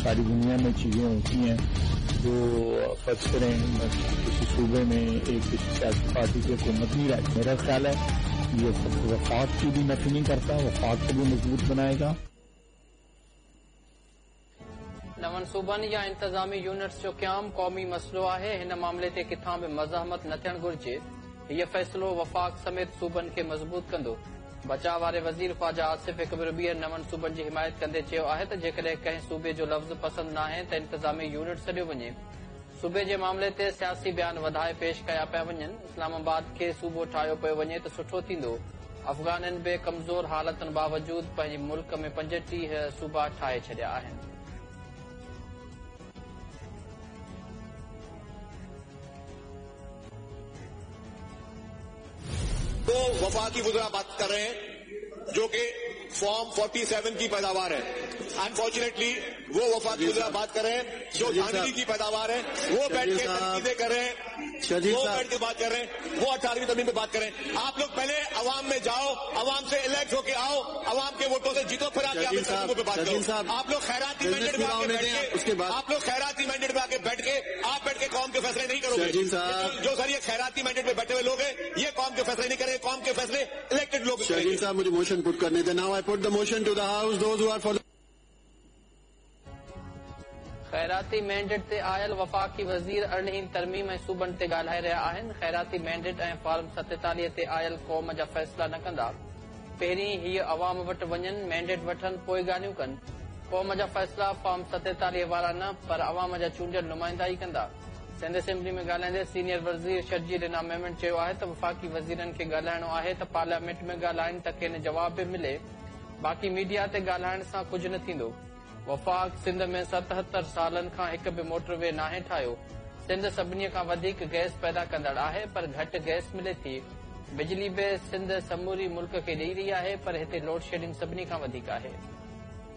सारी दुनिया में चीजें होती हैं जो फर्ज करें किसी सूबे में एक किसी सियासी पार्टी की हुकूमत नहीं रहती। मेरा ख्याल है ये वफाक की भी नफी नहीं करता, वफाक को भी मजबूत बनाएगा। नवनि सूबनि या इंतज़ामी यूनिट्स जो क़याम क़ौमी मसइलो आहे। हिन मामले ते किथां बि मज़ाहमत न थियणु घुरिजे। हीउ फ़ैसिलो वफ़ाक़ समेत सूबनि खे मज़बूत कंदो। बचाव वारे वज़ीर ख्वाजा आसिफ हिकु भेरो ॿीहर नवनि सूबनि जी हिमायत कंदे चयो आहे त जेकॾहिं कंहिं सूबे जो लफ़्ज़ पसंदि नाहे त इंतज़ामी यूनिट सॾियो वञे। सूबे जे मामले ते सियासी बयान वधाए पेश कया पिया वञनि। इस्लामाबाद खे सूबो ठाहियो पियो वञे त सुठो थींदो। अफ़ग़ाननि बि कमज़ोर हालतुनि बावजूद पंहिंजे मुल्क में 35 सूबा ठाहे छॾिया आहिनि। तो वफाकी वुज़रा बात कर रहे हैं जो कि फॉर्म 47 की पैदावार है। अनफॉर्चुनेटली वो वफाकी वुज़रा बात कर रहे हैं जो धांधली की पैदावार है। वो बैठ के तनकीदें कर रहे हैं, वो बैठ के बात कर रहे हैं, वो 18वीं तरमीम पे बात कर रहे हैं। आप लोग पहले अवाम में जाओ, अवाम से इलेक्ट होके आओ, अवाम के वोटों से जीतो, फिर आके आप पे बात करो। आप लोग खैराती मैंडेट में आके बैठ के, आप लोग खैराती मैंडेट में आके बैठ के, आप बैठ के कौम के फैसले नहीं करोगे। जो सर ये खैराती मैंडेट में बैठे हुए लोग हैं, ये कौम के फैसले नहीं करेंगे। कौम के फैसले इलेक्टेड लोग। शर्जील साहब मुझे मोशन पुट करने दें। Now I put the motion to the house, those who are for. खैराती मैंडेट ते आयल वफ़ाक़ी वज़ीर 18वीं तरमीम ऐं सूबनि ते ॻाल्हाए रहिया आहिनि। ख़ैराती मैंडेट ऐं फॉर्म 47 ते आयल क़ौम जा फ़ैसिला न कंदा। पहिरीं हीअ अवाम वटि वञनि, मैंडेट वठनि, पोइ ॻाल्हियूं कनि। क़ौम जा फ़ैसिला फॉर्म 47 वारा न पर अवाम जा चूंडियल नुमाइंदा ई कंदा। सिंध असेंबली में ॻाल्हाईंदे सीनियर वज़ीर शर्जील इनाम मेमन चयो आहे त वफ़ाक़ी वज़ीरनि खे ॻाल्हाइणो आहे त पार्लियामेंट में ॻाल्हाइनि त खेनि जवाब बि मिले, बाक़ी मीडिया ते ॻाल्हाइण सां कुझु न थींदो। वफ़ाक़ सिंध में 77 सालनि खां हिकु बि मोटरवे नाहे ठाहियो। सिंध सभिनी खां वधीक गैस पैदा कंदड़ आहे पर घटि गैस मिले थी। बिजली बि सिंध समूरी मुल्क खे ॾेई रही आहे पर हिते लोड शेडिंग सभिनी खां वधीक आहे।